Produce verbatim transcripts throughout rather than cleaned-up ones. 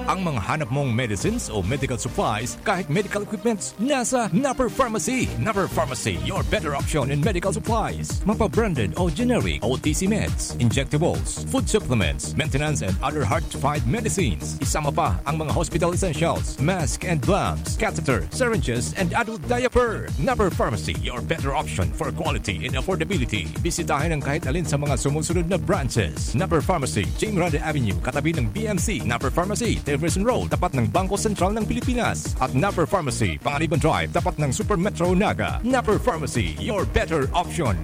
Ang mga hanap mong medicines o medical supplies, kahit medical equipments, nasa Napper Pharmacy. Napper Pharmacy, your better option in medical supplies. Mapa-branded o generic O T C meds, injectables, food supplements, maintenance and other hard-to-find medicines. Isama pa ang mga hospital essentials, mask and gloves, catheter, syringes, and adult diaper. Napper Pharmacy, your better option for quality and affordability. Bisitahin ang kahit alin sa mga sumusunod na branches. Napper Pharmacy, Jing Grande Avenue, katabi ng B M C. Napper Pharmacy, Tilbury Road, tapat ng Bangko Sentral ng Pilipinas. At Napper Pharmacy, Panganiban Drive, tapat ng Super Metro Naga. Napper Pharmacy, your better option.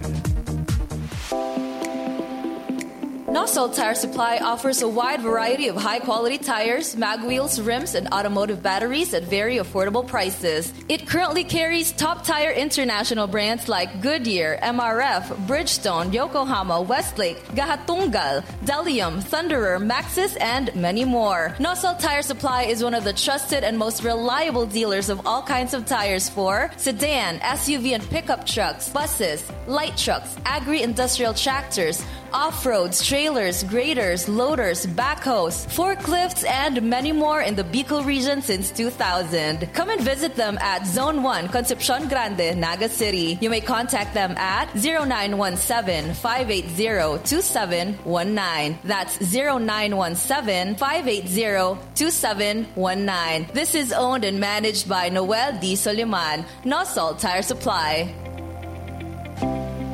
Nosol Tire Supply offers a wide variety of high-quality tires, mag wheels, rims, and automotive batteries at very affordable prices. It currently carries top tire international brands like Goodyear, M R F, Bridgestone, Yokohama, Westlake, Gahatunggal, Delium, Thunderer, Maxxis, and many more. Nosol Tire Supply is one of the trusted and most reliable dealers of all kinds of tires for sedan, S U V, and pickup trucks, buses, light trucks, agri-industrial tractors, off-roads, trailers, graders, loaders, backhoes, forklifts, and many more in the Bicol region since two thousand. Come and visit them at Zone one, Concepcion Grande, Naga City. You may contact them at zero nine one seven, five eight zero, two seven one nine. That's zero nine one seven, five eight zero, two seven one nine. This is owned and managed by Noel D. Soliman, Nosol Tire Supply.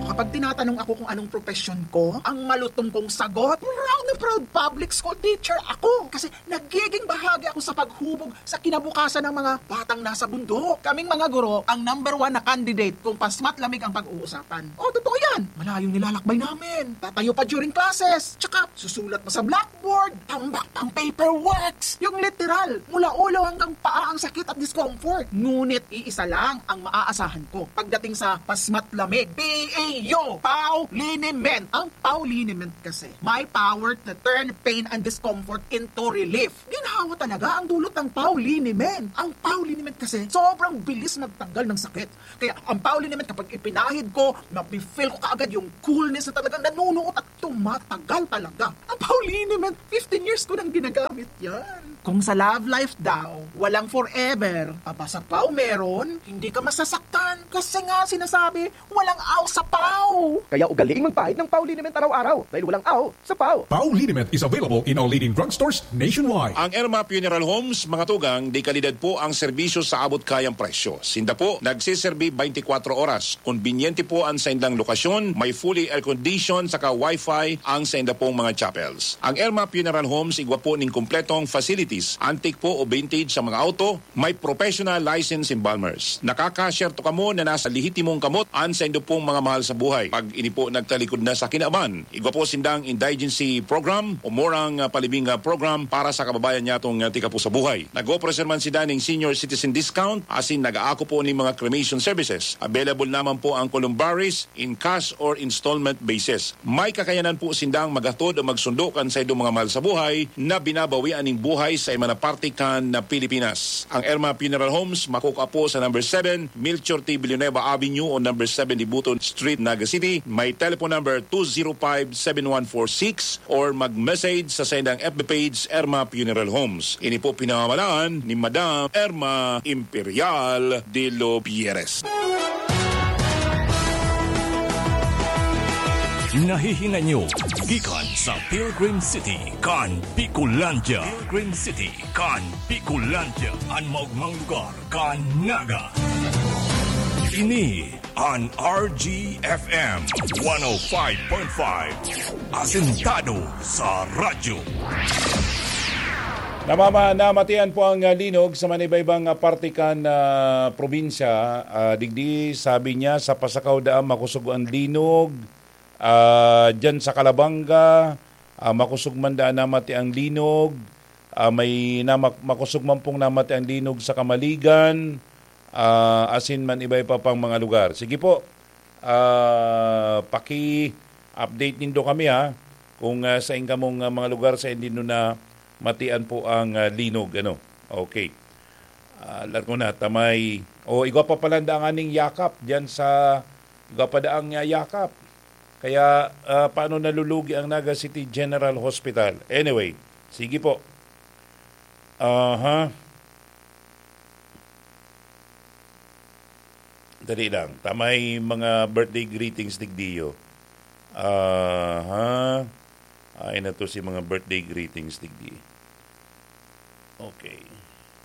Kapag tinatanong ako kung anong profesyon ko, ang malutong kong sagot, proud na proud public school teacher ako. Kasi nagiging bahagi ako sa paghubog sa kinabukasan ng mga batang nasa bundok. Kaming mga guro, ang number one na candidate kung pasmat lamig ang pag-uusapan. O, totoo yan. Malayong nilalakbay namin. Tatayo pa during classes. Tsaka, susulat pa sa blackboard. Tambak pang paperworks. Yung literal, mula ulo hanggang paa ang sakit at discomfort. Ngunit iisa lang ang maaasahan ko pagdating sa pasmat lamig. P A U, Pau Liniment. Ang Pau Liniment kasi, may power to turn pain and discomfort into relief. Ginhawa talaga ang dulot ng Pau Liniment. Ang Pau Liniment kasi, sobrang bilis magtanggal ng sakit. Kaya ang Pau Liniment, kapag ipinahid ko, mafe-feel ko kaagad yung coolness na talagang nanunuot at tumatagal talaga. Ang Pau Liniment, fifteen years ko nang ginagamit yan. Kung sa love life daw, walang forever, aba sa Pau meron, hindi ka masasaktan. Kasi nga sinasabi, walang aw sa Pau. Kaya ugaliing magpahid ng Pau Liniment araw-araw dahil walang aw sa Pau. Pau Liniment is available in all leading drugstores nationwide. Ang Erma Funeral Homes, mga tugang, de kalidad po ang serbisyo sa abot-kayang presyo. Sinda po nagseserbi twenty-four oras. Kombinyente po ang saindang lokasyon, may fully air-conditioned saka wifi ang sainda pong mga chapels. Ang Erma Funeral Homes igwa po ning kompletong facilities, antique po o vintage sa mga auto, may professional license embalmers. Nakakasyerto kamo na nasa lehitimong kamot ang saindo pong mga mahal sa buhay. Pag ini po nagtalikod na sa kinaban, igwa po sindang indigency program o murang, ah, palibing, ah, program para sa kababayan nyatong, ah, tika po sa buhay. Nag-offer man sinda ning senior citizen discount, asin nag-aako po ning mga cremation services. Available naman po ang columbaries in cash or installment basis. May kakayanan po sindang maghatod o magsundo kan saindong mga mahal sa buhay na binabawian ning buhay sa iba na parte kan na Pilipinas. Ang Erma Funeral Homes makukua po sa number seven, Melchor T. Villanueva Avenue o number seven Dibuton Street, Naga City. May telephone number two zero five seven one four six or mag-message sa saindang F B page, Erma Funeral Homes. Ini po pinamamalaan ni Madam Erma Imperial de los Pierres. Nahihinay nyo gikan sa Pilgrim City kan Bicolandia. Pilgrim City kan Bicolandia, an maogmang lugar kan Naga. Ini an R G F M one oh five point five, asentado sa radyo. Namama-, namatian po ang, ah, linog sa manibaybang, ah, parte kan, ah, probinsya. Ah, digdi, sabi niya, sa Pasacao daan makosog ang linog. Ah, diyan sa Calabanga, ah, makosog man daan namati ang linog. Ah, may namak-, makosog man pong namati ang linog sa Camaligan, ah, asin man iba-iba pang mga lugar. Sige po, ah, paki-update nindo kami, ha, kung, ah, sain kamong, ah, mga lugar sain nindo namatian po ang, ah, linog, ano. Okay. Ah, largo na, tamay. O, igwa pa pala ang daang aning Yakap diyan sa, igwa pa daang, ah, Yakap. Kaya, ah, paano nalulugi ang Naga City General Hospital? Anyway, Sige po. Aha. Dali lang. Ta may mga birthday greetings digdiyo. Aha. Ay na to si mga birthday greetings digdi. Okay.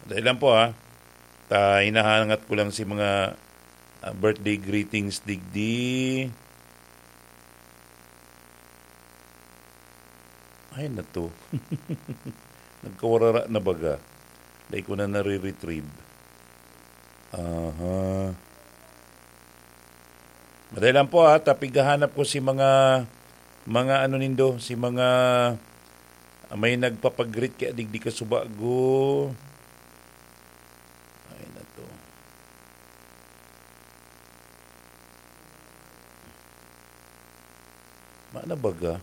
Dali lang po, ha. Ta hinahangat ko lang si mga, ah, birthday greetings digdi. Ay na to. Nagkawarara na baga. Dai ko na nare-retrieve. Aha. Madali lang po, ha, ta pighahanap ko si mga, mga ano nindo, si mga, ah, may nagpapag-greet kaya digdi ka subago. Ay na to. Mana baga?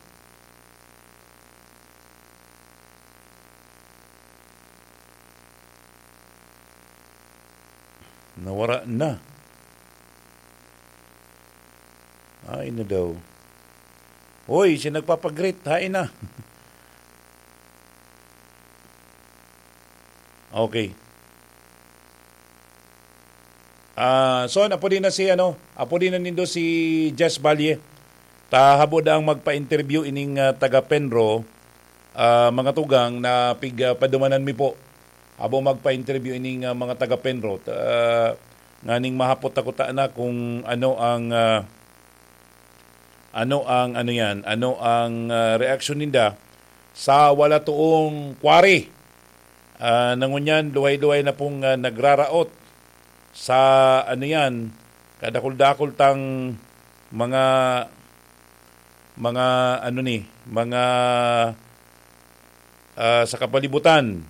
Nawara na. Ay na daw. Hoy, si nagpapag-greet, hain na. Okay. Ah, so, apo din na si, ano, apo din na nindo si Jess Valle. Ta habo daang magpa-interview ining, ah, taga Penro, ah, mga tugang na pig, ah, padumanan mi po. Habo magpa-interview ining, ah, mga taga Penro. Ta, nganing mahapot ako ta na kung ano ang, ah, ano ang, ano yan, ano ang, ah, reaksyon ninda sa wala toong quarry. Ah, na ngunyan, luhay-luhay na pong, ah, nagraraot sa, ano yan, kadakul-dakul tang mga, mga, ano ni, mga, ah, sa kapalibutan.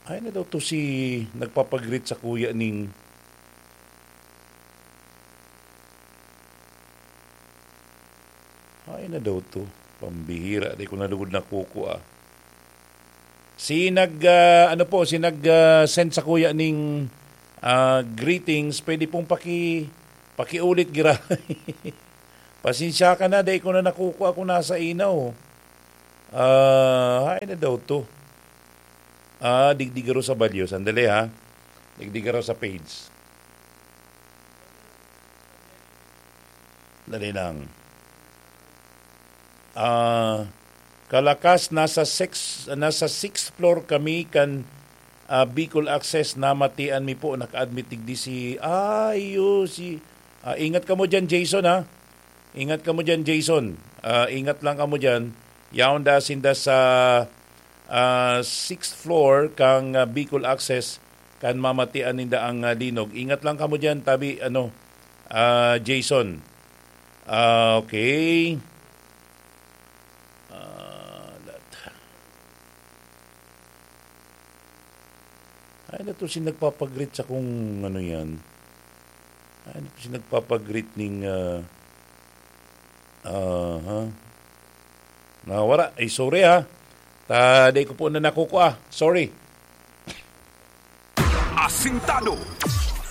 Ay na daw to si nagpapag-greet sa kuya ning Ay na daw to. Pambihira, di ko na lugod nakukua. Si nag, ah, ano po, si nag, ah, send sa kuya ning, ah, greetings, pwede pong paki-, pakiulit, gira. Pasensya ka na, dai ko na nakukua kung nasa inaw. Ah, ay na daw to. Ah, digdi garo sa balyo. Sandali, ha. Digdi garo sa page. Dali lang. Ah, kalakas, nasa six, nasa sixth floor kami kan, ah, Bicol Access, namatian mi po, naka-admit digdi si, ay, yo, si, ah, ingat kamo diyan, Jason, ha? Ingat kamo diyan, Jason. Ah, ingat lang kamo diyan. Yaon da sinda sa, ah, sixth floor kang, ah, Bicol Access, kan mamatian ninda ang, ah, linog. Ingat lang kamo diyan, tabi, ano, ah, Jason. Ah, okay. Ah, lat-, ay, na to si nagpapag-greet sa kung ano yan. Ay, na to si nagpapag-greet ning, ah, aha. Nawara. Ay, sorry, ha. Ta, di ko po na nakukua. Sorry. Asintado.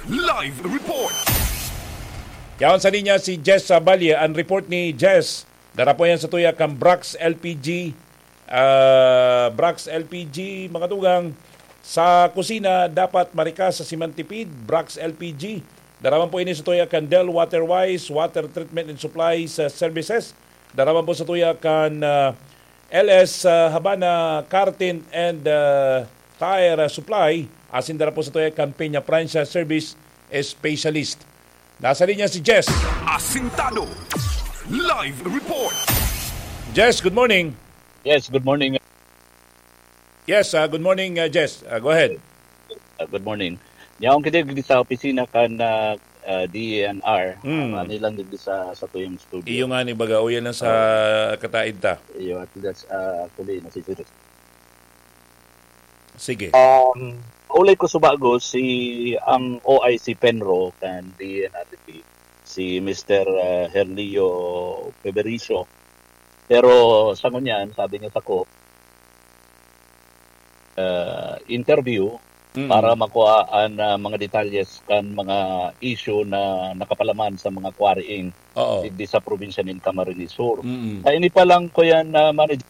Live report. Yaon sa linya si Jess, ah, Balye. Ang report ni Jess, dara po yan sa tuya kang Brax L P G. Ah, Brax L P G, mga tugang, sa kusina, dapat marikas sa simantipid, Brax L P G. Dara man po ini sa tuya kan Del Waterwise, Water Treatment and Supply sa Services. Dara man po sa tuya kan, ah, L S, ah, Habana Car Tint and, ah, Tire, ah, Supply. Asin dara po sa tuya kan Peña Francia Service Specialist. Nasa linya si Jess. Asintado. Live report. Jess, good morning. Yes, good morning. Yes, ah, good morning, ah, Jess. Ah, go ahead. Ah, good morning. Yaon kita digdi sa opisina kan, ah, ah, D E N R. Mm. Ah, ano lang digdi sa, sa tuyong studio. Iyo nga ni baga, uyan lang sa kataid ta. Iyo, at least, ah, actually, nasisira. Sige. Um, ulay ko subago si ang O I C Penro kan D E N R T P, si Mister, ah, Herlio Febericio. Pero sa ngunyan, sabi niya sako, ah, interview Mm. para makuha an, ah, mga detalyes kan mga issue na nakapalaman sa mga quarrying Oo. digdi sa probinsya nin Camarines Sur. Mm. Sa ini pa lang ko yan, ah, manager.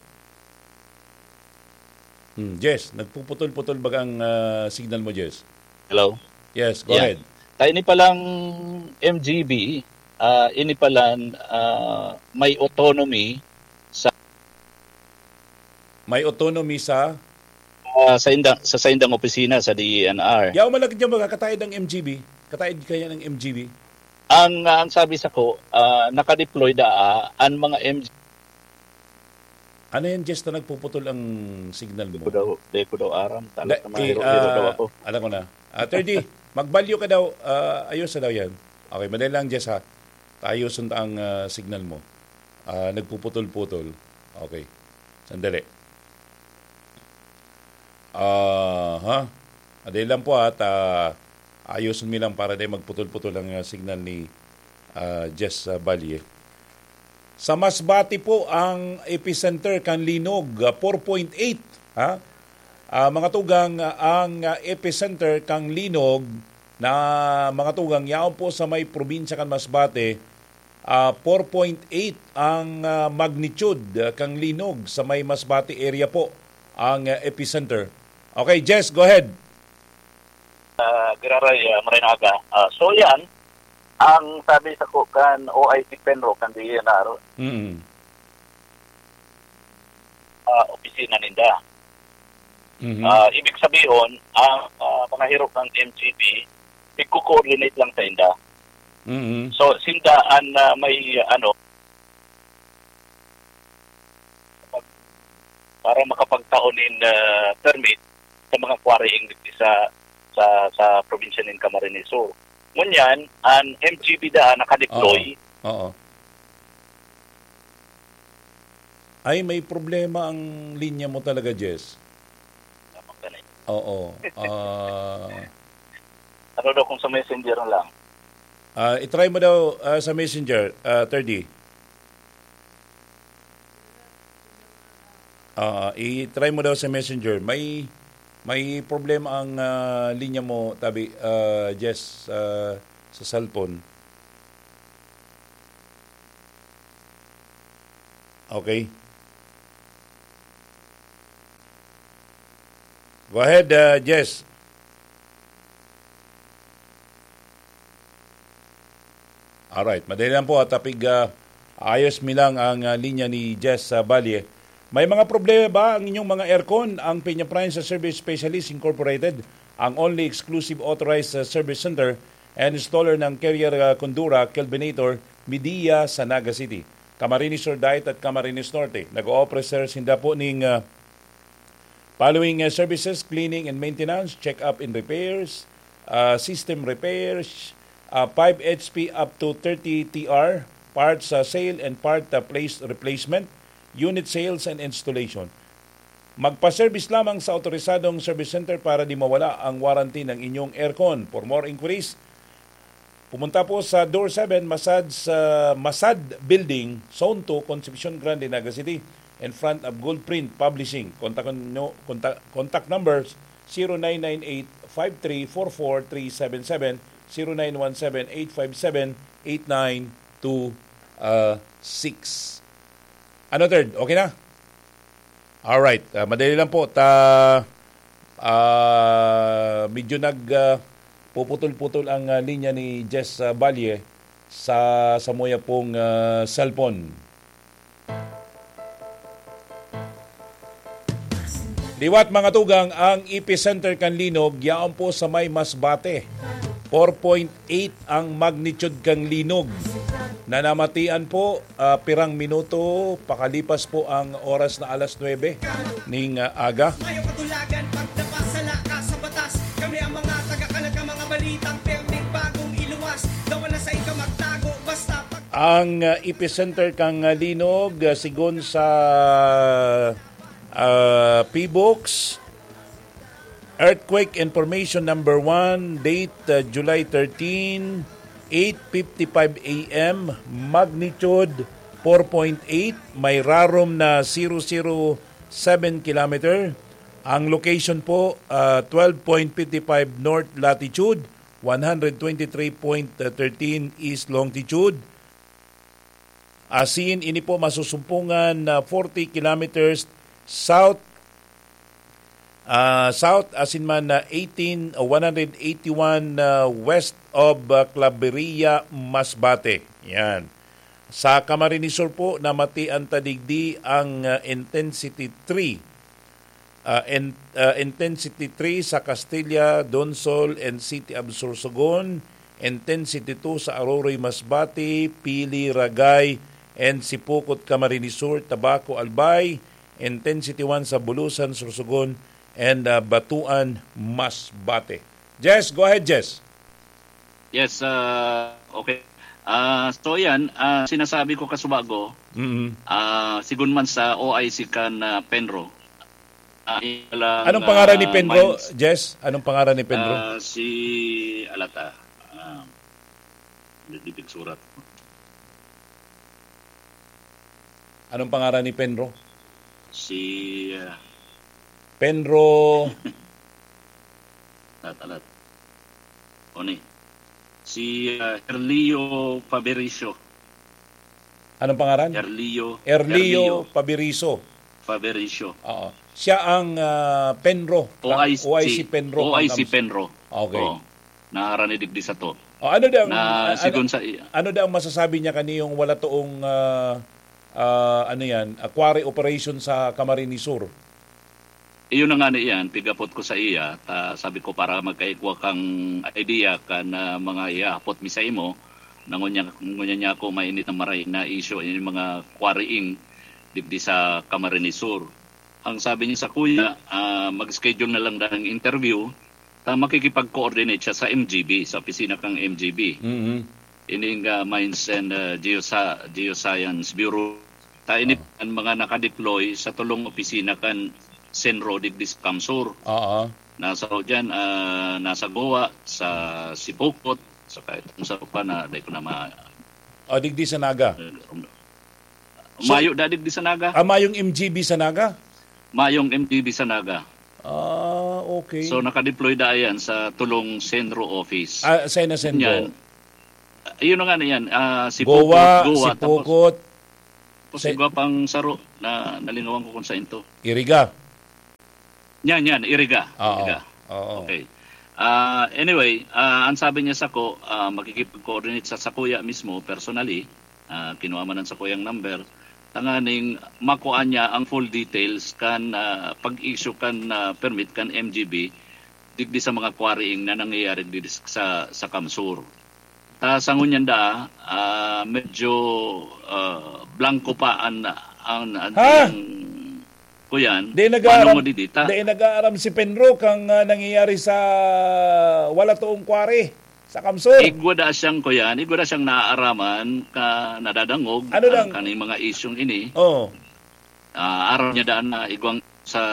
Hmm, Jess, nagpuputol-putol baga ang, ah, signal mo, Jess? Hello? Yes, go Yeah. ahead. Ta ini palang M G B, ah, ini palan ah, may autonomy sa May autonomy sa? ah, sa indang sa saindang opisina sa D E N R. Yaw malagad niya magkakataid ang M G B. Kataid kaya ng M G B. Ang ang sabi sa ko, ah, naka-deploy da ah, ang mga M G Ano yan, Jess, na nagpuputol ang signal Di ko mo? daw, di ko daw aram. Talos Da- na eh, mahiro-hiro daw ah, ako. Alam ko na. Ah, thirty, magbalyo ka daw. Ah, ayos na daw yan. Okay, madali lang, Jess, ha. Tayoson ta ang ah, signal mo. Ah, nagpuputol-putol. Okay. Sandali. Ah, ha? Madali lang po, ha. Ta- Ayoson mi lang para di magputol-putol ang ah, signal ni ah, Jess ah, Balye. Sa Masbate po ang epicenter kan linog, ah, four point eight, ha? Ah, mga tugang, ah, ang ah, epicenter kan linog na mga tugang yaon po sa may probinsya kan Masbate, ah, four point eight ang ah, magnitude ah, kan linog sa may Masbate area po ang ah, epicenter. Okay, Jess, go ahead. Ah, Giraray, ah, maray na aga. Ah, so yan, ang sabi sa ko kan O I C Penro, kan D E N R, Mm. ah, opisina ninda. Mhm. Ah, ibig sabihin, ang ah, mga hiro ng M G B, nagko-coordinate lang sa inda. Mhm. So, sinda ang ah, may ano, para makapagtao nin ah, permit sa mga quarrying sa sa sa probinsya nin Camarines Sur. Ngunyan, ang M G B da nakadeploy. Oo. Oo. Ay, may problema ang linya mo talaga, Jess. Oo. Ah, Ano daw kung sa messenger na lang? Ah, i-try mo daw ah, sa messenger, ah, thirty. Ah, i-try mo daw sa messenger. May may problema ang ah, linya mo, tabi, ah, Jess, ah, sa cellphone. Okay. Go ahead, uh, Jess. Alright, madali lang po at tapig uh, ayos mi lang ang uh, linya ni Jess uh, Balye. May mga problema ba ang inyong mga aircon? Ang Peña Prime sa Service Specialist Incorporated, ang only exclusive authorized uh, service center and installer ng Carrier uh, Condura Kelvinator Midia sa Naga City. Camarines Sur Diet at Camarines Norte. Nag-o-offer sinda po ning uh, following uh, services: cleaning and maintenance, check-up and repairs, uh, system repairs, uh, five H P up to thirty T R, parts uh, sale and part uh, place replacement, unit sales and installation. Magpa-service lamang sa otorisadong service center para di mawala ang warranty ng inyong aircon. For more inquiries, pumunta po sa Door seven, Masad, sa Masad Building, Zone two, Concepcion Grande, Naga City, in front of Gold Print Publishing. Kontak nyo, kontak, contact numbers zero nine nine eight five three four four three seven seven, zero nine one seven eight five seven eight nine two six. Ano, third? Okay na? Alright, ah, madali lang po. Ta, ah, medyo nag, ah, puputol-putol ang ah, linya ni Jess ah, Balye sa samuya pong ah, cellphone. Liwat, mga tugang, ang epicenter kan linog yaon po sa may Masbate. Four point eight ang magnitude kan linog. Nanamatian po ah, pirang minuto pakalipas po ang oras na alas nuebe ning ah, aga. Mayo katulagan, pagdapas, sala ka sa batas. Kami ang mga taga-kalag, ang mga balitang perming bagong iluwas. Dawa na sa ikaw magtago, basta pag- Ang ah, epicenter kang ah, linog, ah, sigon sa ah, PBOX, Earthquake Information number one, date uh, July thirteen, eight fifty-five A M, magnitude four point eight, may rarom na zero zero seven kilometer. Ang location po, uh, twelve point fifty-five north latitude, one hundred twenty-three point thirteen east longitude. Asin ini po masusumpungan na forty kilometers south ah, South, asin man na eighteen, one hundred eighty-one, ah, west of, ah, Claveria, Masbate. Yan. Sa Camarines Sur po, namatian ta digdi ang, ah, intensity three. Ah, in-, ah, intensity three sa Castilla, Donsol, and City of Sorsogon, intensity two sa Aroroy, Masbate, Pili, Ragay, and Sipocot, Camarines Sur, Tabaco, Albay, intensity one sa Bulusan, Sorsogon, and, ah, Batuan, Masbate. Jess, go ahead, Jess. Yes, ah, okay. Ah, so yan, ah, sinasabi ko kasubago, Mm-mm. ah, sigun man sa O I C kan, ah, Penro, ah, ilang, Anong pangaran ni ah, Penro, mines, Jess? Anong pangaran ni Penro? ah, si, alata, ah, hindi surat. Anong pangaran ni Penro? Si, ah, Penro. Alat, alat. Oni. Si, ah, Herlio Fabericio. Anong pangaran? Herlio, Erlio Herlio Pabiriso. Fabericio. Oo. Siya ang, ah, Penro, O I C. O I C Penro, O I C Pangkams. Penro. Okay. Oo. Naharani digdi sato. O, ano dang, Na ah, ano, sigon sa i- ano dang masasabi niya kaniyong wala toong, ah, ah, ano yan, ah, quarry operation sa Camarines Sur? Iyo na ngani iyan, pig-apot ko sa iya, ta sabi ko, para magkaigwa kang idea kan, ah, mga ihahapot mi sa imo, na ngunyan, ngunyan niya ako mainit na maray na isyu, yung mga quarrying digdi sa Camarines Sur. Ang sabi niya sa kuya, ah, mag-schedule na lang daw ng interview, ta makikipag-coordinate siya sa M G B, sa opisina kang M G B. Mhm. Ini nga Mines and, ah, Geosa-, Geoscience Bureau. Ta ini Ah. ang mga nakadeploy sa tulong opisina kan Senro digdi sa Kamsur. Oo. Nasa diyan, ah, nasa Goa, sa Sipocot, sa kahit kung sa pa na, dai ko na ma- O, digdi sa Naga. So, mayo da digdi sa Naga. Ah, mayong M G B sa Naga? Mayong M G B sa Naga. Ah, okay. So, nakadeploy da yan sa tulong Senro office. Ah, sa Senro. Yan. Yun na nga na yan. Ah, si Goa, Pukot, Goa, si tapos, Pukot, tapos si igwa pang saro na nalingawan ko kung saan to. Iriga. Yan, yan, Iriga. Oo. Iriga. Oo. Okay. Ah, anyway, ah, ang sabi niya sako, ah, makikipag-coordinate sa, sa kuya mismo, personally, ah, kinuha man ang sakuyang number, tanganing makuha niya ang full details kan, ah, pag-issue kan, ah, permit kan M G B digdi sa mga quarrying na nangyayari digdi sa, sa Kamsur. Ta sa ngunyan da, ah, medyo, ah, blanco pa an, an, an, Ha? ang kuyan, Di nag-aaram, paano mo didita? Di nag-aaram si Penro kang, ah, nangyayari sa wala toong quarry sa Kamsur. Igwa da siyang kuyan, igwa da siyang naaaraman ka nadadangog Ano ang dang kaning mga isyung ini. Oh. Ah, aram niya daan na igwang sa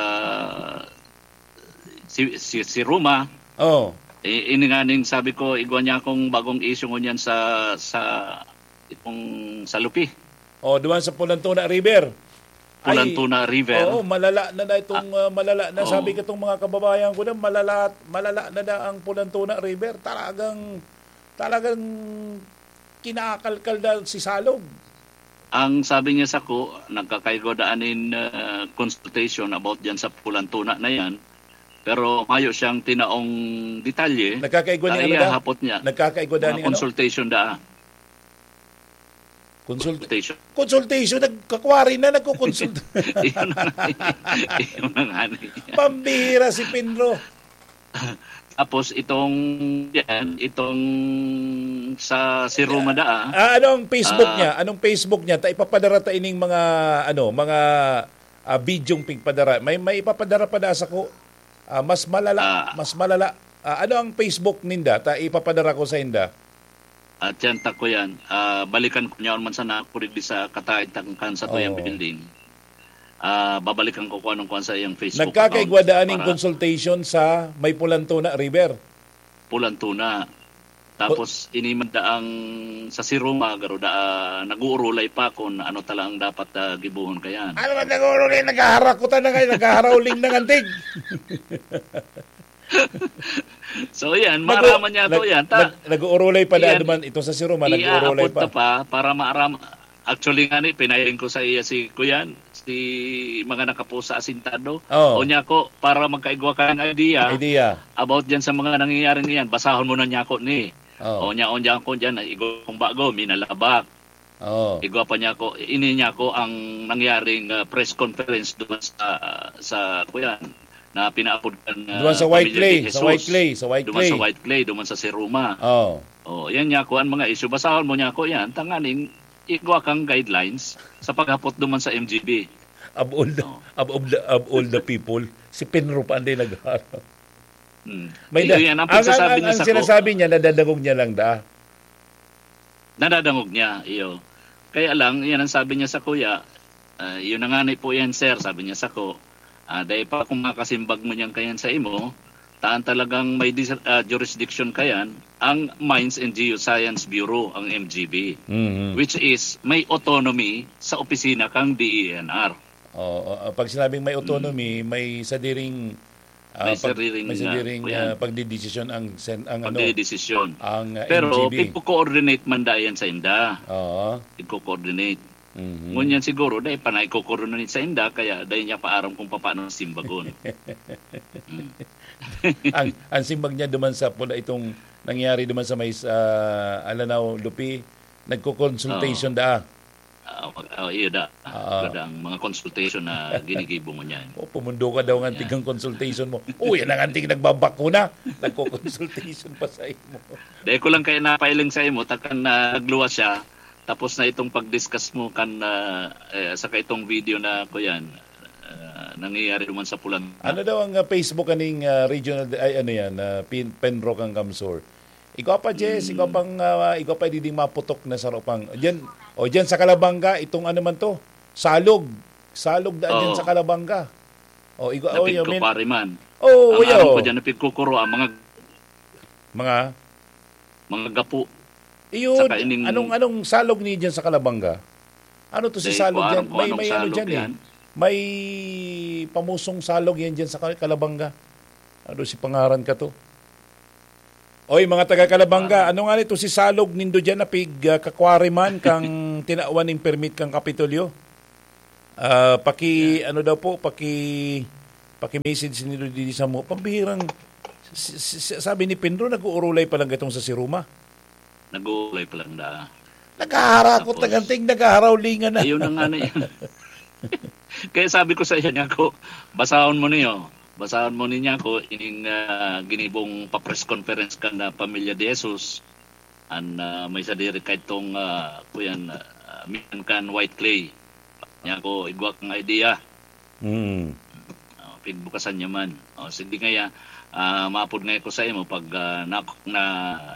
si, si, si Roma. Oh. I-, ini nga ning sabi ko, igwa niya akong bagong isyu ngunyan sa, sa itong sa Lupi. Oh, duman sa Pulantuna River. Ay, Pulantuna River. Oo, malala na na itong, Ah, ah, malala na. Oo. Sabi ko itong mga kababayan ko na, malala, malala na na ang Pulantuna River. Talagang, talagang kinakalkal na si Salog. Ang sabi niya sako, nagkakaigwa daan nin, ah, consultation about diyan sa Pulantuna na yan. Pero mayo siyang tinaong detalye. Nagkakaigwa niya ano Kaya daw? hapot niya. Nagkakaigwa daan Mga ni ano? consultation daa. Consult-, Consultation. consultation, nagkakwari na, nagko-consult. Iyon na nga. Iyon na nga. Pambihira si Penro. Tapos itong, yan, itong sa si Roma daa. Ah, ano ang Facebook Ah. niya? Anong Facebook niya? Ta ipapadara ta ining mga, ano, mga, ah, bidyong pigpadara. May, may ipapadara pa da sako. Ah, mas malala, Ah. mas malala. Ah, ano ang Facebook ninda? Ta ipapadara ko sa inda. At yan, tako yan. Ah, balikan ko niya man sana ako digdi sa kataid tangkan sa tuyang Oo. building. Ah, babalikan ko kung anong kuwan sa iyang Facebook Nagkakaigwa account daan ning para consultation sa may Pulantuna River. Pulantuna. Tapos, ini man daang sa Siruma, garo da, ah, nag-uurulay pa kung ano talagang dapat, ah, gibohon kayan. Ano man nag-uurulay? Naghaharakutan na kayo, naghaharahuling na ngantig. So, yan, Nag-u-, maaraman niya to nag-, yan. Ta-, nag-, nag-uurulay pa na yan, duman. Ito sa Siruma, nag-uurulay iaapod pa. ta pa para maaram-, Actually nga ni, pinailing ko sa iya si kuyan, si mga nakapost sa asintado. Oh. O niya ko, para magkaigwa ka ng idea Idea. about dyan sa mga nangyayaring iyan, basahon mo na niya ko ni. Oh. O niya, o niya ko dyan, igwa kong bago, minalabak. Oh. Igwa pa niya ko, ini niya ko ang nangyaring, ah, press conference doon sa, sa kuyan, na pinaapod kan, ah, Duman sa White Pamilya Clay, de sa White Jesus. Clay, sa White Duman sa Clay. White Clay, duman sa Siruma. Oh. Oh, yan niya ko ang mga issue. Basahon mo niya ko yan. Tanganing igwa kang guidelines sa paghapot duman sa M G B. Of all the, Oh. of, of the, of all the people, si Penro pa ang di nagharap. Hmm. May Iyo da- yan, ang ang, ang, pagsasabi ang, niya ang sa ko. sinasabi niya, nadadangog niya lang da. Nadadangog niya, iyo. Kaya lang, yan ang sabi niya sa kuya, ah, "Yun na nga ni po yan, sir," sabi niya sa ko. "Ah, dahil pa kung makasimbag mo niyan kayan sa imo, taan talagang may dis- ah, jurisdiction kayan, ang Mines and Geoscience Bureau, ang M G B, Mhm. which is may autonomy sa opisina kang D E N R." Oo, ah, pag sinabing may autonomy, Mm. may sadiring, ah, May pag- sadiring, may ah, sadiring, kuyan. ah, pagdidesisyon ang sen-, ang ano, Pagdidesisyon. ang, ah, Pero M G B. pigko-coordinate man dayan sa inda. Oo. Pigko-coordinate. Mhm. Ngunyan siguro, dahil pa na iko-coordinate sa inda, kaya dahil niya paaram kung paano simbagon. Mm. Ang, ang simbag niya duman sa pula itong nangyari duman sa may, ah, Alanao, Lupi, nagko-consultation Oo. da. Ah, mag-, ah, iyo da. Ah. Kada ang mga consultation na ginigibo mo niyan. O, pumundo ka daw ng Yan. antigang consultation mo. Uy, yan ang anting nagbabakuna. Nagko-consultation pa sa imo. Dahil ko lang kaya napailing sa imo, takan na nagluwas siya, tapos na itong pag-discuss mo kan, ah, eh, saka itong video na ko yan, ah, nangyayari naman sa Pulan. Ano daw ang, ah, Facebook aning, ah, regional, ay, ano yan, ah, Pin-, Penro kang Kamsur? Igwa pa, Jess, igwa Mm. pang, ah, igwa pa diding maputok na sarupang. Diyan, o diyan sa Kalabanga, itong ano man to, salog. Salog daan diyan Oo. sa Kalabanga. O, igwa, Napig o, yun, ko min- pare man. Oo, Ang aram ko yo. dyan, napigkukuro ang mga Mga? mga gapo. Iyo, Saka ining anong, anong salog ni diyan sa Kalabanga? Ano to si Dahil salog ko aram diyan? ko May, anong may ano salog diyan eh. yan. May pamusong salog yan diyan sa Kal-, Kalabanga. Ano si pangaran ka to? Oy, mga taga Kalabanga, Ah. ano nga nito si salog nindo diyan na pig, ah, kakwari man kang tinawan ning permit kang Kapitolyo? Ah, paki, Yan. ano daw po, paki, paki-message nindo didi sa mo. Pambihirang, si, si, si, sabi ni Penro, nag-uurulay pa lang itong sa Siruma. Nag-uulay pa lang da. Naghaharakot Tapos, na ganting, naghaharawlingan na. Ayun na nga na yan. Kaya sabi ko sa iya niya ko, "Basahon mo niyo. Basahon mo niya ko ining, ah, ginibong pa-press conference kan, ah, Pamilya de Jesus. An, ah, may sadiri kaitong, ah, kuyan, ah, miyan kan White Clay." Niya ko, "Igwa kang idea." Mm. Oh, pigbukasan niya man. Oh, sige ngaya, ah, maapod ngaya ko sa imo pag, ah, na, na,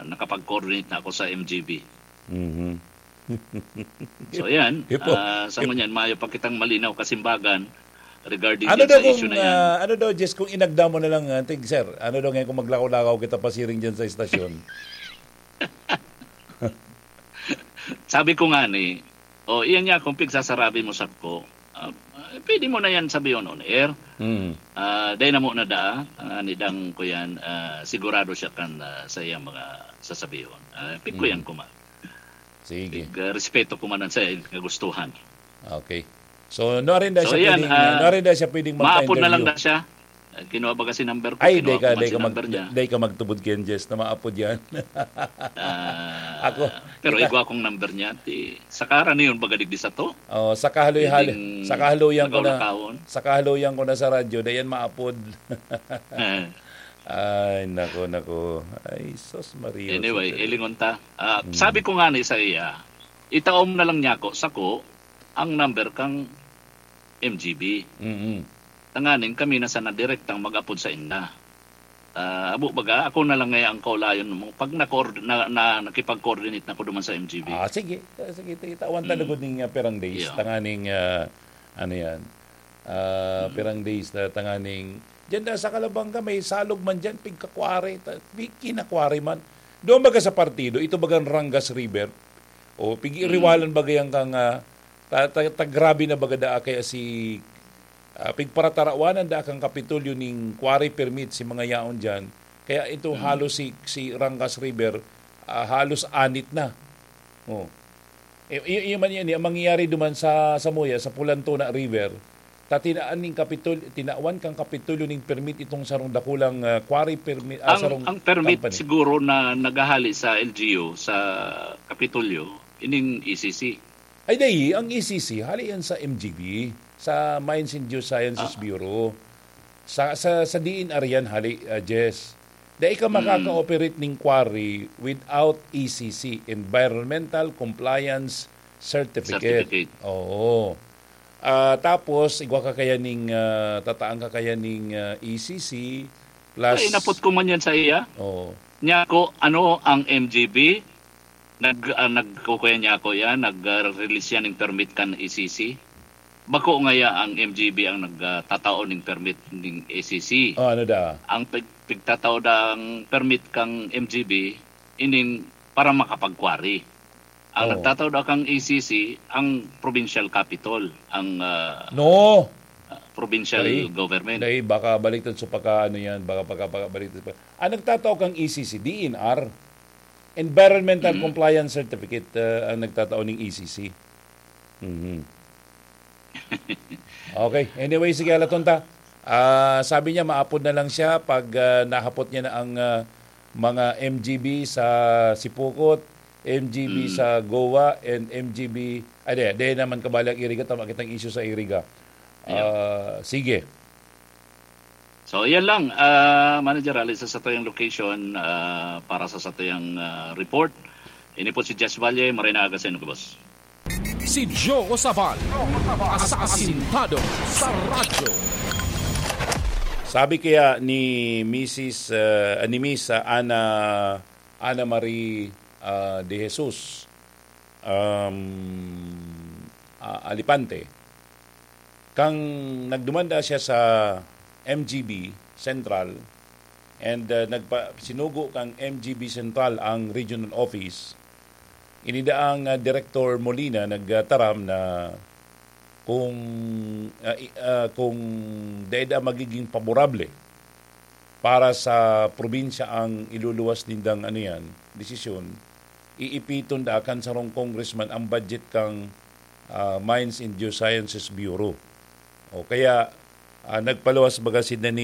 nakapag-coordinate na ako sa M G B. Mhm. So, yan. Ipo-, ah, sa ipo- ngunyan, mayo pa kitang malinaw kasimbagan regarding Ano dyan daw sa issue kung, na yan. ah, ano daw, Jess, kung inagda mo na lang, ah, tig, sir, ano daw ngayon kung maglakaw-lakaw kita pasiring dyan sa estasyon? Sabi ko nga ni, "O, iyan niya kung pigsasarabi mo sako, ah, pwede mo na yan sabihin on air." Mm. Ah, dahil na mo na daa, ang anidang ko yan, ah, sigurado siya kan, ah, sa iyang mga sasabihon. Ah, pigkuyan Mm. ko man. Sige. Pig, ah, respeto ko man ang sa iyang kagustuhan. Okay. So, no, arin na So, siya yan, pwedeng, ah, no, arin na siya pwedeng maapod na lang magpa-interview. na siya. Ah, kinuha baga si number ko, Ay, kinuha di ka, ko man di si ka mag-, number niya. di ka magtubod kay Jess na maapod yan. Ah, Ako, pero kita- igwa kong number niya, ti, saka ra niyon baga digdi sa to. Oh, sa kahaloy-haloy, Pwedeng sa kahaloyan ko na, lakaw-lakawon. sa kahaloyan ko na sa radyo, dayan maapod. Eh. Ay, nako, nako. Ay, sus, Maria, Anyway, Jose. ilingon ta. Ah, Mm. sabi ko nga ni sa iya, itaom na lang niya ako, sako, ang number kang M G B. Mm-mm. Tanganing kami na sana direktang mag-apod sa inda. Ah, abo baga, ako na lang ngaya ang kaulayon mo. Pag na-coord-, na, na, nakipag-coordinate na ko duman sa M G B. Ah, sige. Ah, sige, ti-, tawan ta Mm. lugod ning, ah, pirang days. Yeah. Tanganing, ah, ano yan? Ah, Mm. pirang days na tanganing. Diyan na sa Kalabanga, may salog man diyan, pigkakwari. Ta-, pi-, kinakwari man. Doon baga sa partido, ito bagang Rangas River. O, pig-iriwalan Mm. baga yan kang, ah, ta-, ta-, ta-, grabe na baga daa kaya si, ah, pigparatarawanan daa kang Kapitolyo ning quarry permit si mga yaon diyan. Kaya ito Mm. halos si, si Rangas River, ah, halos anit na. Oh. Eh, y-, y-, man yan, yung mangyayari duman sa, sa Muya, sa Pulan Tuna River, ta tinaan ning Kapitol-, tinawan kang Kapitolyo ning permit itong sarong dakulang, ah, quarry permit, ah, Ang, sarong ang permit company. Siguro na naghahali sa L G U, sa Kapitolyo, ining E C C. Ay, dai, ang E C C, hali yan sa M G B, sa Mines and Geosciences Ah. Bureau. Sa, sa, sa D N R yan, hali, ah, Jess. Dai ka Mm. makaka-operate ning quarry without E C C, Environmental Compliance Certificate. Certificate. Oo. Ah, tapos, igwa ka kaya ning, ah, tataan ka kaya ning, ah, E C C plus Ay, inapot ko man yan sa iya. Oo. Niya ako, ano, ang M G B, nag-, ah, nagkukuya niya ako yan, nag-, ah, release yan ng permit kan E C C. Bako ngaya ang M G B ang nag-, ah, tatao ning permit ning E C C. Oh, ano da? Ang pig-, pigtatao da ang permit kang M G B, inin para makapag-quarry. Ang Oo. nagtatao da kang E C C, ang provincial capital, ang, ah, No. ah, provincial Dai, government. dai, baka baliktad sa pagka, ano yan, baka pagka, baka baliktad pa. Ang nagtatao kang E C C, D N R, Environmental Mm. Compliance Certificate, ah, ang nagtatao ning E C C. Mhm. Okay. Anyway, sige, Alatonta. Ah, sabi niya, maapod na lang siya pag, ah, nahapot niya na ang, ah, mga M G B sa Sipocot, M G B Mm. sa Goa, and M G B, ah, di, di naman kabali ang Iriga, tama kitang issue sa Iriga. Yeah. Ah, sige. So, yan lang, ah, Manager, hali sa satuyang location, ah, para sa satuyang, ah, report. Ini po si Jess Valle, maray na aga sa inyo, boss. Si Joe Sabal, asasintado sa radyo. Sabi kaya ni Misis, ah, ni Miss, ah, Ana, Ana Marie, ah, de Jesus, um, ah, Alipante, kang nagdumanda siya sa M G B Central and, ah, nagpa-, sinugo kang M G B Central ang regional office, inida ang, ah, Director Molina nagtaram na kung, ah, i-, ah, kung dai da magiging paborable para sa probinsya ang iluluwas nindang, ano yan, desisyon, iipiton da kan sarong congressman ang budget kang, ah, Mines and Geosciences Bureau. O kaya, ah, nagpaluwas baga sinda ni